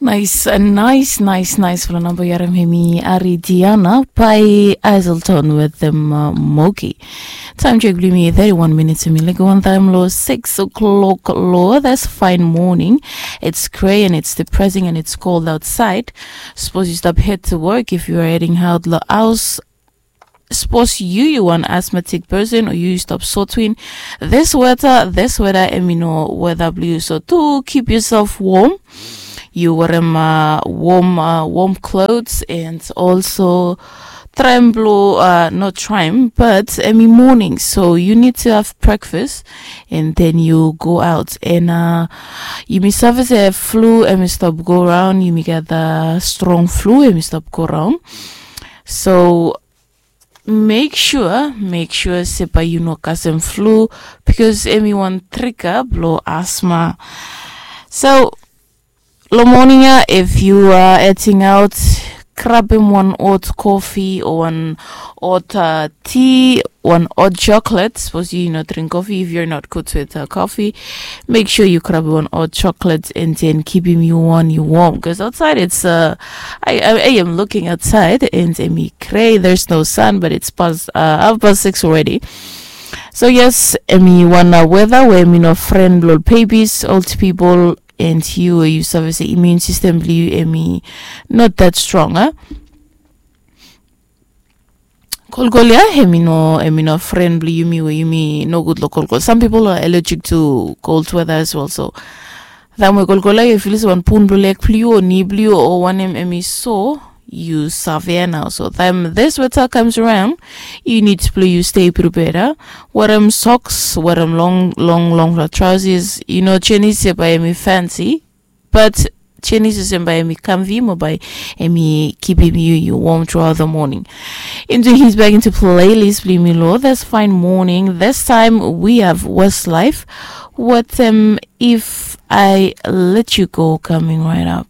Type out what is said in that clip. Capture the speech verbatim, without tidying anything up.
Nice, nice, nice, nice. Fala namba yarem hemi Ari Diana by Azelton with them uh, Moki. Time check blimi thirty-one minutes hemi like one time lo six o'clock lo. That's fine morning. It's gray and it's depressing and it's cold outside. Suppose you stop head to work if you are heading out lo house. Suppose you you one asthmatic person or you stop sotwin. This weather, this weather, emi no weather blue. So to keep yourself warm, you wear um, uh, warm uh, warm clothes and also try and blow uh, not try and, but emi morning, so you need to have breakfast and then you go out and uh, you may suffer a flu and we stop go around, you may get the strong flu and we stop go around. So make sure, make sure se bae yu no kasem flu, because emi wan trika blo asma. So lo moning ya, if yu a eting aot, grabem wan ot kofi o wan ot ti, wan ot choklet. Sapos yu no dring kofi, if yu not good with kofi, make sure yu grab wan ot choklet and then kipim yu wan yu wom, because outside it's uh, I, I, I am looking outside and emi grey, there's no sun, but it's past uh, half past six already. So yes, emi wan uh, weather where emi no friend lo babies, old people, and yu yu save se immune system blo yu emi not that strong, eh? Kolkol ya, emi no emi no friend blo yumi we yumi no good lo kolkol. Some people are allergic to cold weather as well, so taem we kolkol ya yu feel se wan pun blo leg blo yu o ni blo yu o wanem emi so, yu save ya nao. So taem this weather comes around, yu need blo yu stay prepared, ah. Wear em socks, wear em long long long trousers. Yu no jenis se bae emi fancy, but jenis se bae emi comfy mo bae emi kipim yu yu warm throughout the morning. Into his back into playlist blo yumi lo That's Fine Morning. This time we have Westlife. What um if I let you go coming right up.